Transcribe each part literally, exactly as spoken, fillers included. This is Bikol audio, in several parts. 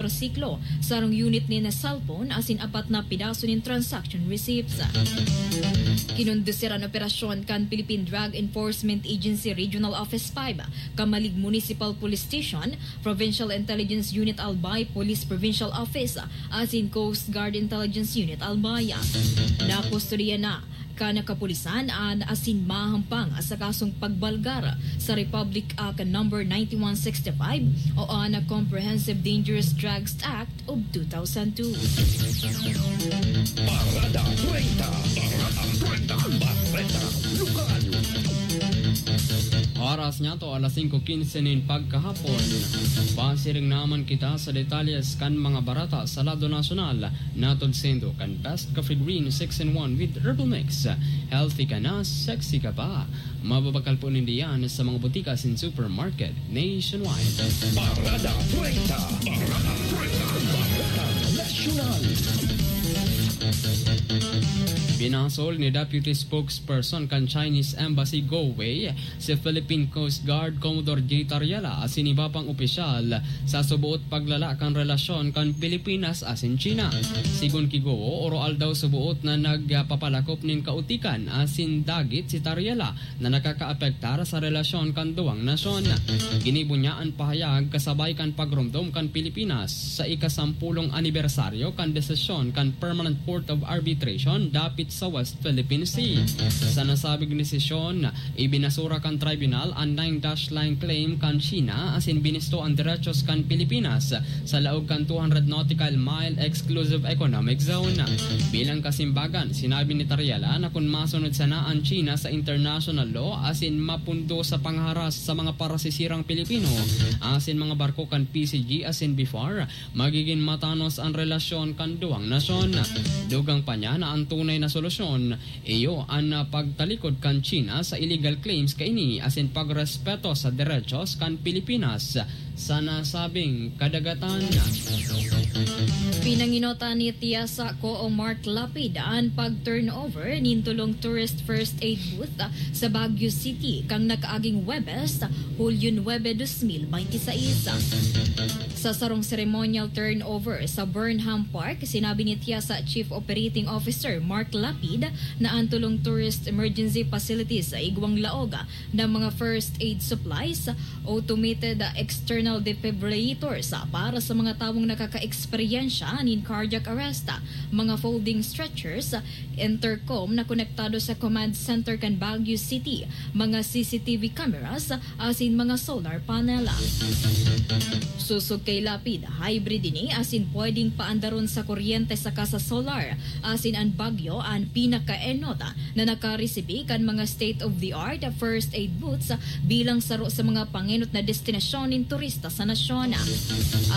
siklo, sarong unit nin cellphone asin apat na pidaso nin transaction receipts. Kinondusir an operasyon kan Philippine Drug Enforcement Agency Regional Office five, Camalig Municipal Police Station, Provincial Intelligence Unit Albay, Police Provincial Office, asin Coast Guard Intelligence Unit Albay. Nakustodiya na kan kapulisan an asin mahampang sa kasong pagbalgar sa Republic Act Number ninety-one sixty-five o an Comprehensive Dangerous Drugs Act of two thousand two. Parada treinta. Parada treinta. Bareta Lokal. Oras niya to, alas singko quince nin pagkahapon. Pasiring naman kita sa detalles kan mga bareta sa lado nasyonal. Natod sendo kan Best Coffee Green six in one with Herbal Mix. Healthy ka na, sexy ka pa. Mababakal po ninda yan sa mga butika asin supermarket nationwide. Parada treinta. Parada treinta. Bareta Nasyonal. Binasol ni Deputy Spokesperson kan Chinese Embassy Galway si Philippine Coast Guard Commodore J Tariela asin iba pang opisyal sa suboot paglala kan relasyon kan Pilipinas asin China. Sigon ki Goo, oroaldaw suboot na nagpapalakop nin kautikan asin dagit si Tariela na nakakaapektar sa relasyon kan duwang nasyon. Ginibo niya an pahayag kasabay kan pagromdom kan Pilipinas sa ikasampulong anibersaryo kan desisyon kan Permanent Court of Arbitration dapit sa West Philippine Sea. Sa nasabing desisyon, ibinasura kan tribunal an nine dash line claim kan China asin binisto an derechos kan Pilipinas sa laog kan two hundred nautical mile exclusive economic zone. Bilang kasimbagan, sinabi ni Tariela na kun masunod sana an China sa international law asin mapundo sa pangharas sa mga parasisirang Pilipino asin mga barko kan P C G asin BFAR, magigin matanos an relasyon kan duwang nasyon. Dugang pa niya na an tunay na solusyon iyo an pagtalikod kan China sa illegal claims kaini asin pagrespeto sa derechos kan Pilipinas sa nasabing kadagatan. Pinanginotan ni Tiasa Coo Mark Lapid an pag-turnover nin tolong tourist first aid booth sa Baguio City kan nakaaging Huwebes, Hulyo nuebe, dos mil benti sais. Sa sarong ceremonial turnover sa Burnham Park, sinabi ni Tiasa Chief Operating Officer Mark Lapid na an tolong tourist emergency facilities sa igwang laog na mga first aid supplies, automated external defibrillators para sa mga tawong nakakaeksperyensya nin cardiac arrest, mga folding stretchers, intercom na konektado sa command center kan Baguio City, mga C C T V cameras, asin mga solar panel. Sosog kay Lapid, hybrid ini asin pwedeng paandaron sa kuryente saka sa solar, asin an Baguio an pinakaenot na nakaresibi kan mga state-of-the-art first aid booths bilang saro sa mga pangenot na destinasyon nin turista sa nasyon.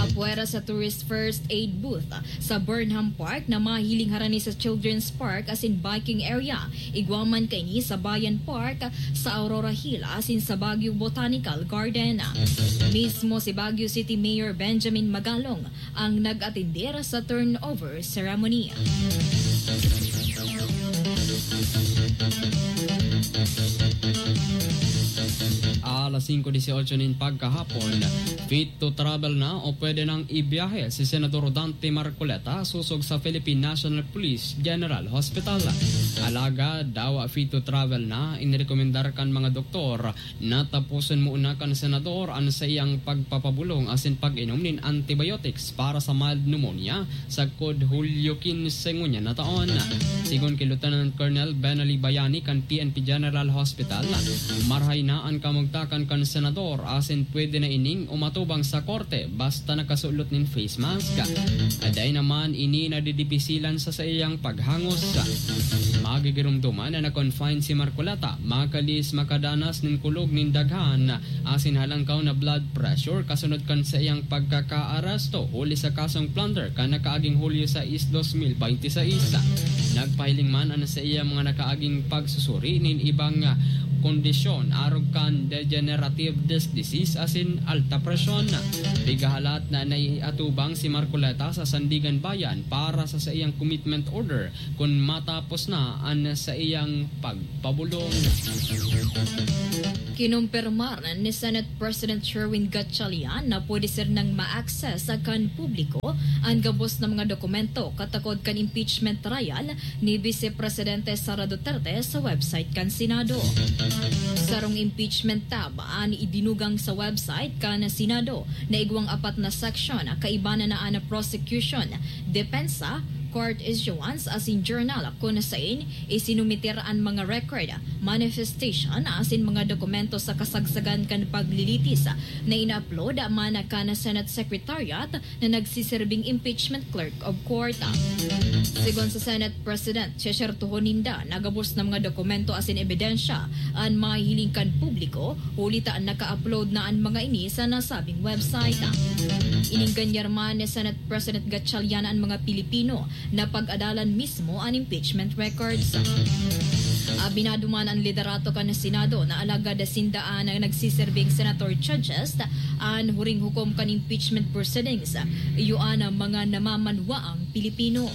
Apwera sa tourist first aid booth sa Burnham Park na mahiling harani sa Children's Park asin biking area, igwa man kaini sa Bayan Park, sa Aurora Hill asin sa Baguio Botanical Garden. Mismo si Baguio City Mayor Benjamin Magalong ang nag-atender sa turnover ceremony. Alas singko dieciocho nin pagkahapon, fit to travel na o pwede nang ibiyahe si Senador Dante Marcoleta sosog sa Philippine National Police General Hospital. Alagad dawa fit to travel na, inirekomendar kan mga doktor na taposon muna kan senador an saiyang pagpapabolong asin pag-inom nin antibiotics para sa mild pneumonia sagkod Hulyo quince ngunyan na taon. Sigon ki Lieutenant Colonel Benali Bayani kan P N P General Hospital, marahay na an kamugtakan kan senador asin pwede na ining umatubang sa korte basta nakasulot nin face mask. Dai naman ini nadidipisilan sa saiyang paghangos. Magigiromdoman na na-confine si Marcoleta, makalihis makadanas nin kulog nin daghan asin halangkaw na blood pressure kasunod kan saiyang pagkakaaresto huli sa kasong plunder kan nakaaging Hulyo sais, dos mil benti sais. Nagpahiling man an saiyang mga nakaaging pagsusuri nin ibang kondisyon arog kan degenerative disc disease asin alta presyon. Pigahalat na naiatubang si Marcoleta sa Sandigan Bayan para sa saiyang commitment order kun matapos na an saiyang pagpabulong. Kinumpirmar ni Senate President Sherwin Gatchalian na pwede sir nang ma-access kan publiko an gabos na mga dokumento katakod kan impeachment trial ni Vice Presidente Sara Duterte sa website kan Senado. Sarong impeachment tab an idinugang sa website kan Senado na igwang apat na section, kaiba na an prosecution, depensa, court issuance asin journal kun sain isinumiter an mga record, manifestation asin mga dokumento sa kasagsagan kan paglilitis na ina-upload man kan Senate Secretariat na nagsiserbing impeachment clerk of court. Sigon sa Senate President, sesertuhon ninda na gabos na mga dokumento asin ebidensya an mahihiling kan publiko, huli ta naka-upload na an mga ini sa nasabing website. Inenganyar man ni Senate President Gatchalian an mga Pilipino na pag-adalan mismo an impeachment records. Abinado man an liderato kan Senado na alagad sinda an nagsiserbing senator judges an huring hukom kan impeachment proceedings, iyo an mga namamanwaang Pilipino.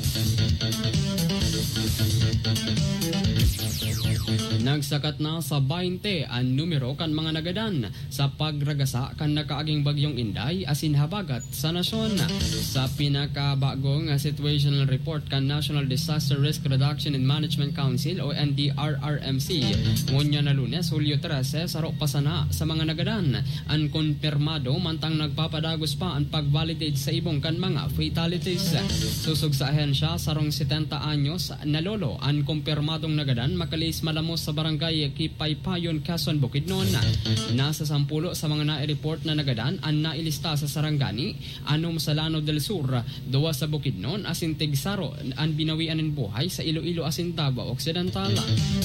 Nagsakat na sa baynte an numero kan mga nagadan sa pagragasa kan nakaaging Bagyong Inday asin habagat sa nasyon. Sa pinakabagong situational report kan National Disaster Risk Reduction and Management Council o N D R R M C, ngunyan na Lunes, Hulyo trese, saro pa sana sa mga nagadan an konpirmado, mantang nagpapadagos pa an pag-validate sa ibong kan mga fatalities. Sosog sa ahensya, sarong setenta anyos na lolo an konpirmadong nagadan, makalihis malamos sa barangay Kipaypayon, Quezon, Bukidnon. Nasa sampulo sa mga nai-report na nagadan an nailista sa Sarangani, anom sa Lanao del Sur, duwa sa Bukidnon, asin tigsaro an binawian nin buhay sa Iloilo asin Davao Occidental.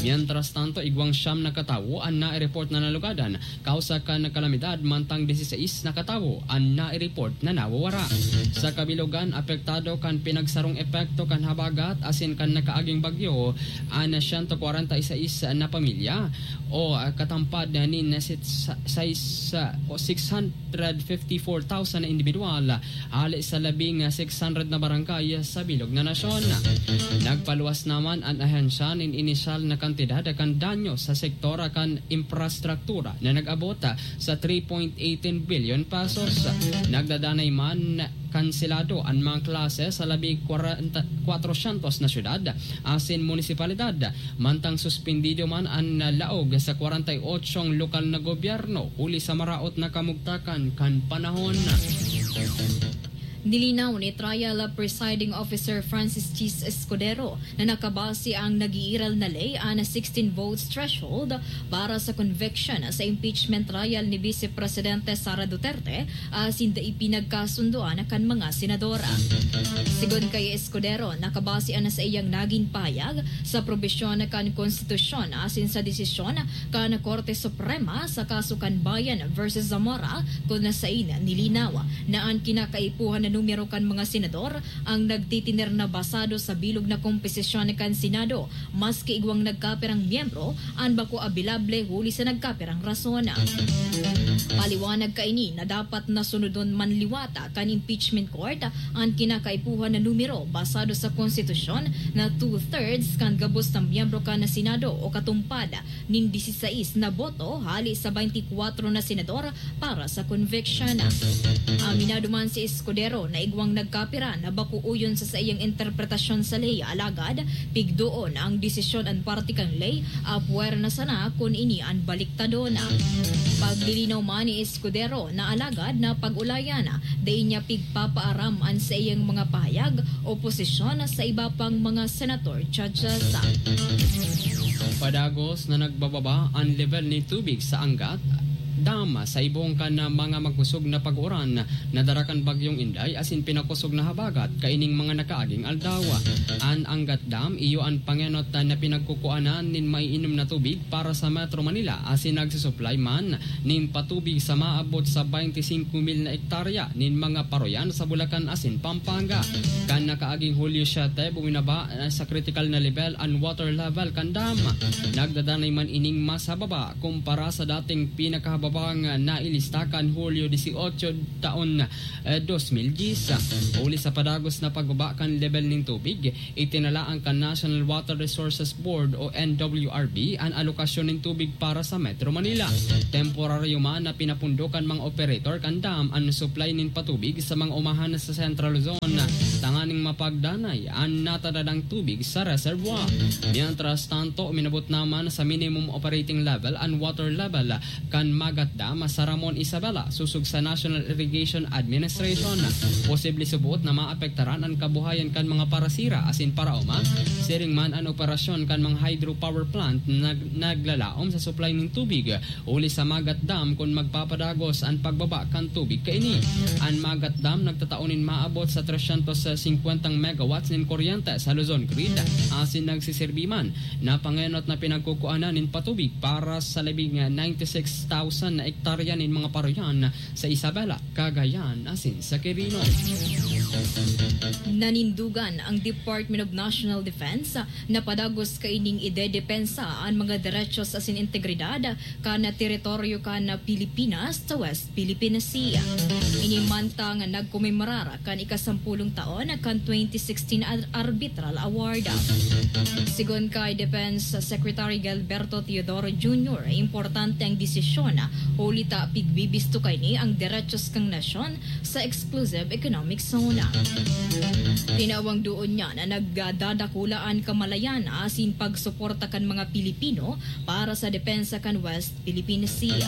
Mientras tanto, igwang siyam na katawo an nai-report na nalugadan kausa kan kalamidad, mantang dieciséis na katawo an nai-report na nawawara. Sa kabilogan, apektado kan pinagsarong epekto kan habagat asin kan nakaaging bagyo an siyento kwarenta y seis na pamilya o, ah, katampad nin sit-, sa-, sais, ah, o six hundred fifty-four thousand na individual hali sa labing six hundred na barangay sa bilog na nasyon. Nagpaluwas naman an ahensya nin inisyal na kantidad kan danyo sa sektor kan infrastruktura na nag-abot sa three point eighteen billion pesos. Nagdadanay man kanselado an mga klase sa labi kwarenta, kwatrosyentos na syudad asin munisipalidad, mantang suspindido man an laog sa kwarenta y otso lokal na gobyerno huli sa maraot na kamugtakan kan panahon. Nilinaw ni Trial Presiding Officer Francis Chis Escudero na nakabase ang nag-iiral na ley an sixteen votes threshold para sa conviction sa impeachment trial ni Vice Presidente Sara Duterte asin dai pinagkasundoan kan mga senador. Sigon kay Escudero, nakabase an saiyang nagin pahayag sa probisyon kan konstitusyon asin sa desisyon kan Korte Suprema sa kaso kan Bayan versus Zamora, kun sain nilinaw na an kinakaipuhan na numero kan mga senador ang nagtitiner na basado sa bilog na komposisyon kan Senado, maski igwang nagkapirang miyembro an bako abilable huli sa nagkapirang rason. Paliwanag kaini na dapat na sunodon man liwat kan impeachment court an kinakaipuhan na numero basado sa konstitusyon na two-thirds kan gabos na miyembro kan Senado o katumpad nin dieciséis na boto hali sa baynti kwatro na senador para sa conviction. Aminado man si Escudero na igwang nagkapira na bako uyon sa saiyang interpretasyon sa ley, alagad pigdoon ang desisyon an parte kan ley, apwera na sana kun ini an baliktadon. Paglilinaw man ni Escudero na alagad na pag-ulayan, dai niya pigpapaaram an saiyang mga pahayag o posisyon sa iba pang mga senator judges. Padagos na nagbababa an level ni tubig sa Angat, Dam sa ibong kan mga magkusog na pag-uran na dara kan Bagyong Inday asin pinakosog na habagat kaining mga nakaaging aldaw. An Angat Dam iyo an pangenot na pinagkukuanan nin maiinom na tubig para sa Metro Manila asin nagsusuplay man nin patubig sa maabot sa twenty-five mil na ektarya nin mga paroyan sa Bulacan asin Pampanga. Kan nakaaging Hulyo siete, buminaba na sa critical na level an water level kan dam. Nagdadanay man ining mas hababa kumpara sa dating pinakahababang nailista kan Hulyo dieciocho taon, eh, dos mil diyes. Huli sa padagos na pagbaba kan level nin tubig, itinalaan kan National Water Resources Board o N W R B an alokasyon nin tubig para sa Metro Manila. Temporaryo man na pinapundo kan mga operator kan dam an supply nin patubig sa mga umahan sa Central Luzon, tanganing mapagdanay an natadadang tubig sa reservoir. Mientras tanto, minabot naman sa minimum operating level an water level kan Magat Dam sa Ramon Isabela, sosog sa National Irrigation Administration. Posible suboot na maapektaran an kabuhayan kan mga parasira asin paraoma. Siring man an operasyon kan mga hydropower plant na nag-, naglalaom sa supply nin tubig huli sa Magat Dam kun magpapadagos an pagbaba kan tubig kaini. An Magat Dam nagtatao nin maabot sa tresyentos singkwentang megawatts nin kuryente sa Luzon Grid, asin nagsisirbi man na pangenot na pinagkukuanan nin patubig para sa labing ninety-six thousand na ektarya nin mga paroyan sa Isabela, Cagayan, asin sa Quirino. Nanindugan ang Department of National Defense na padagos kaining idedepensa an mga derechos asin integridad kan teritoryo kan Pilipinas sa West Philippine Sea. Ini mantang nagkomemorar kan ikasampulong taon kan twenty sixteen Ar-, Arbitral Award. Sigon kay Defense Secretary Gilberto Teodoro Junior, importante ang desisyon huli ta pigbibisto kaini ang derechos kan nasyon sa exclusive economic zone. Tinawang doon niya na nagdadakula an kamalayan asin pagsuporta kan mga Pilipino para sa depensa kan West Philippine Sea.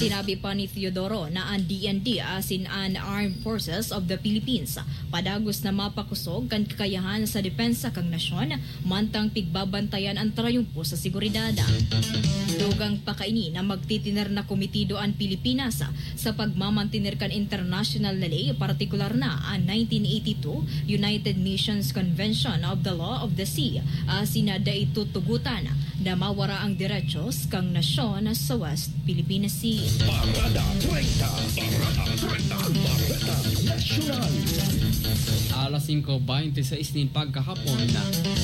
Sinabi pa ni Teodoro na an D N D asin an Armed Forces of the Philippines padagos na mapakosog kan kakayahan sa depensa kan nasyon, mantang pigbabantayan an trayumpo sa seguridad. Dugang pa kaini na magtitiner na komitido an Pilipinas sa pagmamantener kan internasyonal na ley, partikular na an nineteen eighty-two United Nations Convention of the Law of the Sea, asin na dai tutugotan na mawara ang derechos kan nasyon sa West Philippine Sea. Parada treinta, Parada treinta, Parada Nasyonal. Alas singko bente sais nin pagkahapon,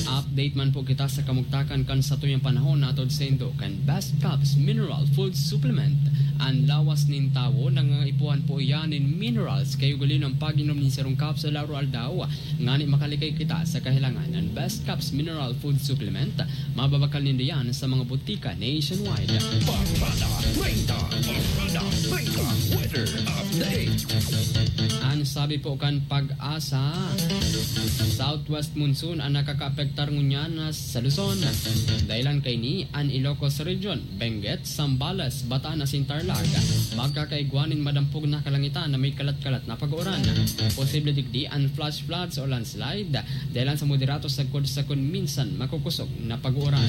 update man po kita sa kamugtakan kan satuyang panahon, atod saindo kan Best Caps Mineral Food Supplement. An lawas nin tawo nangangaipuhan po iyan nin minerals, kaya ugalin ang pag-inom nin sarong capsule araw-aldaw, ngani makalikay kita sa kahilangan. An Best Caps Mineral Food Supplement, mababakal nindo yan sa mga butika nationwide. Parada treinta, Parada treinta, weather update. An sabi po kan Pag-asa, southwest monsoon an nakakaapektar ngunyan sa Luzon. Dahilan kaini an Ilocos Region, Benguet, Zambales, Bataan asin Tarlac. Magkakaigwa nin madampog na kalangitan na may kalat-kalat na pag-uuran. Posible digdi an flash floods o landslide, dahilan sa moderato sagkod-sagkod minsan makukosog na pag-uuran.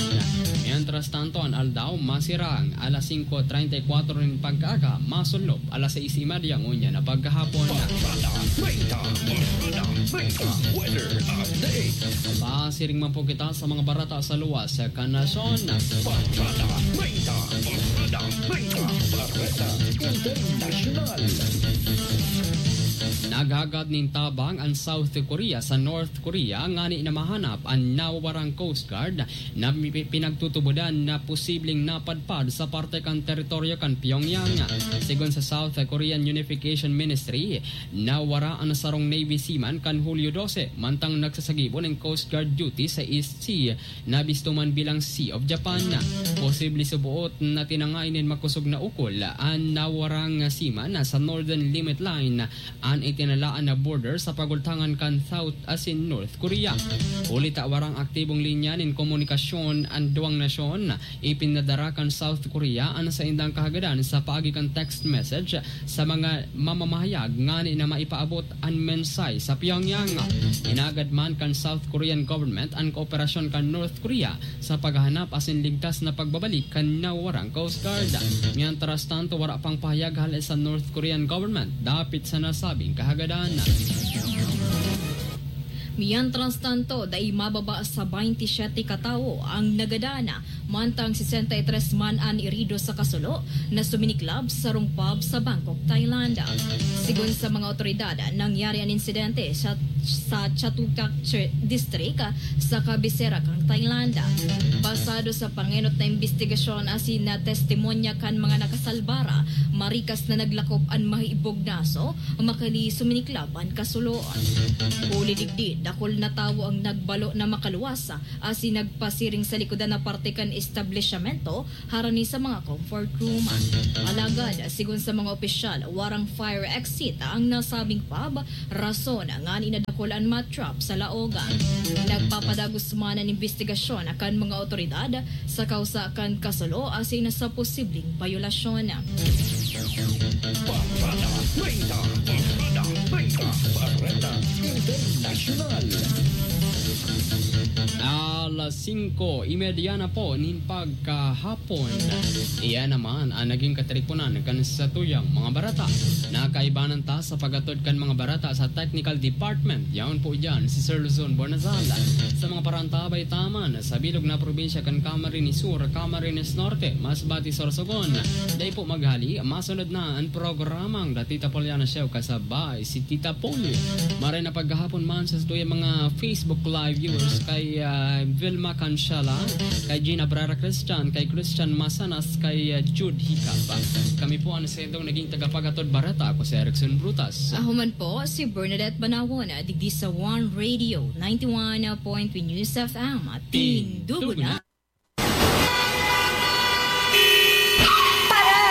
Mientras tanto, an aldaw masirang alas singko treinta y cuatro nin pagkaaga, masunlop alas sais y media ngunyan na pagkahapon. Parada treinta, Parada treinta, weather update. Pasiring man po kita sa mga barata sa luwas kan nasyon. Parada treinta, Parada treinta, Bareta Internasyonal. Naghagad nin tabang an South Korea sa North Korea ngani na mahanap an nawawarang Coast Guard na mi-, pinagtutubodan na posibleng napadpad sa parte kan teritoryo kan Pyongyang. Sigon sa South Korean Unification Ministry, nawara an sarong Navy seaman kan Hulyo dose, mantang nagsasagibo nin Coast Guard duty sa East Sea na bisto man bilang Sea of Japan. Posible suboot na tinangay nin makosog na ukol an nawarang seaman sa Northern Limit Line, an itin- nalaan na border sa pagultangan kan South asin North Korea. Huli ta warang aktibong linya nin komunikasyon an duwang nasyon, ipinadara kan South Korea an saindang kahagadan sa paagi kan text message sa mga mamamahayag ngani na maipaabot an mensahe sa Pyongyang. Inagad man kan South Korean government an kooperasyon kan North Korea sa paghahanap asin ligtas na pagbabalik kan nawawarang Coast Guard. Mientras tanto, wara pang pahayag hale sa North Korean government dapit sa nasabing kahagadan. Mientras tanto, dai mababa sa baynte siyete ka tawo ang nagadan, mantang sesenta y tres man an irido sa kasulo na suminiklab sa sarong pub sa Bangkok, Thailand. Sigon sa mga otoridad, nangyari an insidente sa, sa Chatuchak Chir-, District, sa kabisera kan Thailand. Basado sa pangenot na imbestigasyon asin na testimonya kan mga nakasalbar, marikas na naglakop an mahibog na aso, makali suminiklab an kasulo. Huli digdi, dakul na tawo ang nagbalo na makaluwas, asin nagpasiring sa likodan na parte kan establisyamento, harani sa mga comfort room. Alagad, sigon sa mga opisyal, warang fire exit ang nasabing pub, rason ngani nadakul an moth trap sa laog. Nagpapadagos man an imbestigasyon kan mga otoridad sa kausa kan kasulo asin sa posibleng bayolasyon. Barada treinta, Barada treinta, Barada Internasyonal. Alas singko y media na po nin pagkahapon. Iyan naman ang naging katiriponan kan satuyang mga barata. Nakaibanan ta sa paghatod kan mga barata sa technical department. Yaon po diyan si Sir Luzon Bonazal. Sa mga parantabay taman, sa bilog na probinsya kan Camarines Sur, Camarines Norte, Masbate, Sorsogon. Dai po maghali, masunod na ang programang The Tita Poliana Show kasabay si Tita Poli. Maray na paghahapon man sa satuyang mga Facebook Live viewers kay, ah, Vilma Cancela, kay Gina Brera Christian, kay Christian Masanas, kay, ah, Jude Hicap. Kami po ang sendong naging tagapaghatod barata. Ako si Erickson Brutas. Ako man po, si Bernadette Banawon, digdi sa One Radio, ninety-one point three News F M. Tindugo na. Para!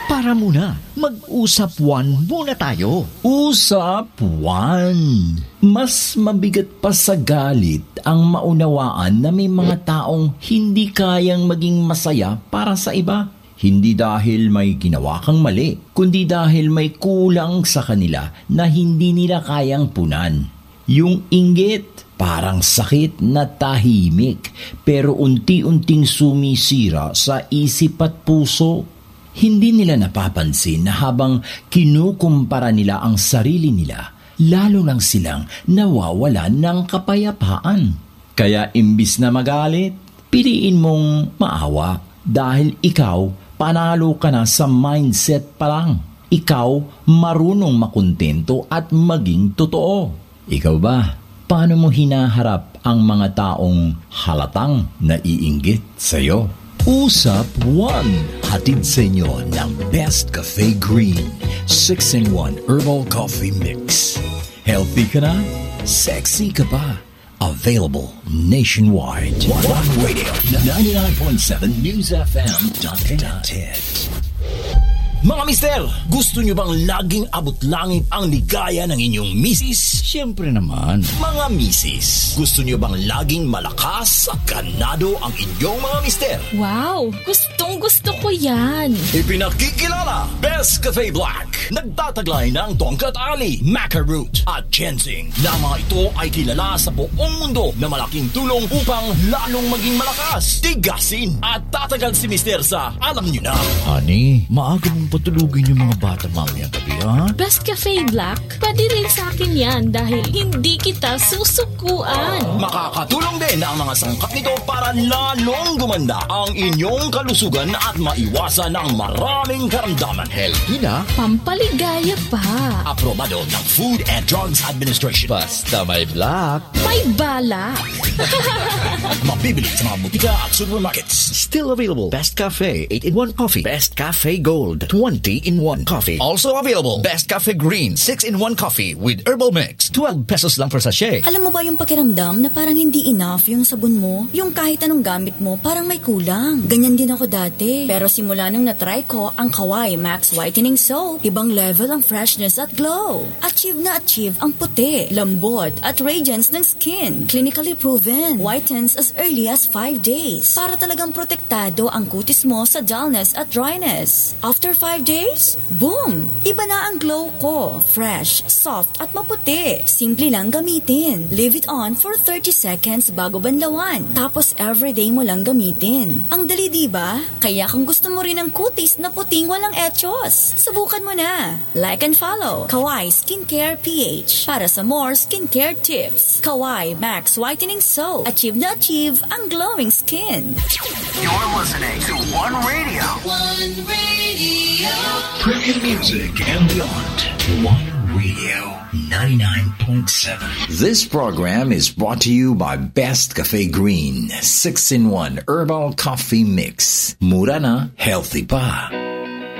Para muna, mag-usap one muna tayo. Usap one. Mas mabigat pa sa galit ang maunawaan na may mga taong hindi kayang maging masaya para sa iba. Hindi dahil may ginawa kang mali, kundi dahil may kulang sa kanila na hindi nila kayang punan. Yung inggit, parang sakit na tahimik, pero unti-unting sumisira sa isip at puso. Hindi nila napapansin na habang kinukumpara nila ang sarili nila, lalo lang silang nawawalan ng kapayapaan. Kaya imbis na magalit, piliin mong maawa dahil ikaw, panalo ka na sa mindset pa lang. Ikaw, marunong makontento at maging totoo. Ikaw ba? Paano mo hinaharap ang mga taong halatang naiinggit sa'yo? Usap one, hatid sa inyo ng Best Cafe Green, six-in-one Herbal Coffee Mix. Healthy ka na? Sexy ka pa? Available nationwide. One Radio, ninety-nine point seven News F M. Mga mister, gusto nyo bang laging abot langit ang ligaya ng inyong misis? Siyempre naman. Mga misis, gusto nyo bang laging malakas at ganado ang inyong mga mister? Wow! Gustong gusto ko yan! Ipinakikilala, Best Cafe Black. Nagtataglay ng tongkat ali, maca root, at ginseng, na mga ito ay kilala sa buong mundo na malaking tulong upang lalong maging malakas, tigasin, at tatagal si Mister sa alam nyo na. Honey, maaga mong patulugin yung mga bata mamayang gabi, ha? Best Cafe Black, pwede rin sa akin yan dahil hindi kita susukuan. Makakatulong din ang mga sangkap nito para lalong gumanda ang inyong kalusugan at maiwasan ang maraming karamdaman. Healthy na. Pampaligaya pa. Aprobado ng Food and Drugs Administration. Basta may black. May balak. Mabibili sa mga butika at supermarkets. Still available. Best Cafe, eight-in-one Coffee. Best Cafe Gold. One tea in one coffee. Also available, Best Cafe Green six in one coffee with herbal mix. Twelve pesos lang per sachet. Alam mo ba yung pakiramdam na parang hindi enough yung sabon mo? Yung kahit anong gamit mo, parang may kulang. Ganyan din ako dati. Pero simula nung na-try ko ang Kawai Max Whitening Soap, ibang level ang freshness at glow. Achieve na achieve ang puti, lambot, at radiance ng skin. Clinically proven. Whitens as early as five days. Para talagang protektado ang kutis mo sa dullness at dryness. After five days, boom! Iba na ang glow ko. Fresh, soft, at maputi. Simple lang gamitin. Leave it on for thirty seconds bago banlawan. Tapos everyday mo lang gamitin. Ang dali, di ba? Kaya kung gusto mo rin ang kutis na puting walang echos, subukan mo na. Like and follow Kawai Skincare P H para sa more skincare tips. Kawai Max Whitening Soap. Achieve na achieve ang glowing skin. You're listening to One Radio. One Radio. Premium music and beyond. One Radio ninety-nine point seven. This program is brought to you by Best Cafe Green six in one Herbal Coffee Mix. Mura na, healthy pa.